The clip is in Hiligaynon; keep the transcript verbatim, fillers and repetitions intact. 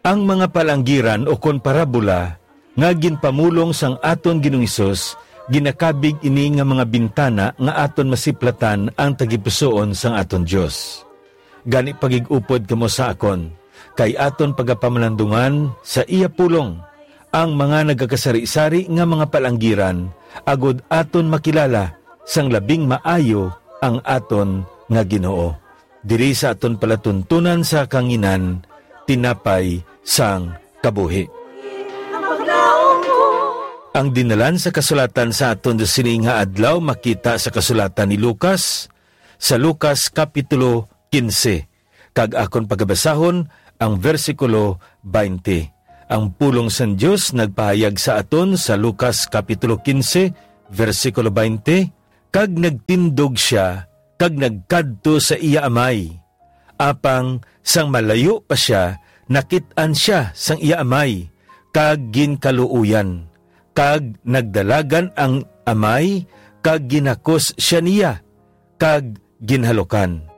Ang mga palanggiran ukon parabola nga ginpamulong sang aton Ginoong Hesus, ginakabig ini nga mga bintana nga aton masiplatan ang tagipusoon sang aton Dios. Gani, pagig-upod kamo sa akon, kay aton pagapamalandungan sa iya pulong ang mga nagakasari-sari nga mga palanggiran, agod aton makilala sang labing maayo ang aton nga Ginoo. Diri sa aton palatuntunan sa kanginan, tinapay sang kabuhi. Ang dinalan sa kasulatan sa aton sini nga adlaw makita sa kasulatan ni Lucas, sa Lucas Kapitulo quince, kag akon pagabasahon ang bersikulo twenty. Ang pulong sang Dios nagpahayag sa aton sa Lucas Kapitulo quince, bersikulo twenty, "Kag nagtindog sia, kag nagkadto sa iya amay. Apang sang malayo pa sia, nakit-an sia sang iya amay, kag ginkaluoyan. Kag nagdalagan ang amay, kag ginakos sia niya, kag ginhalukan."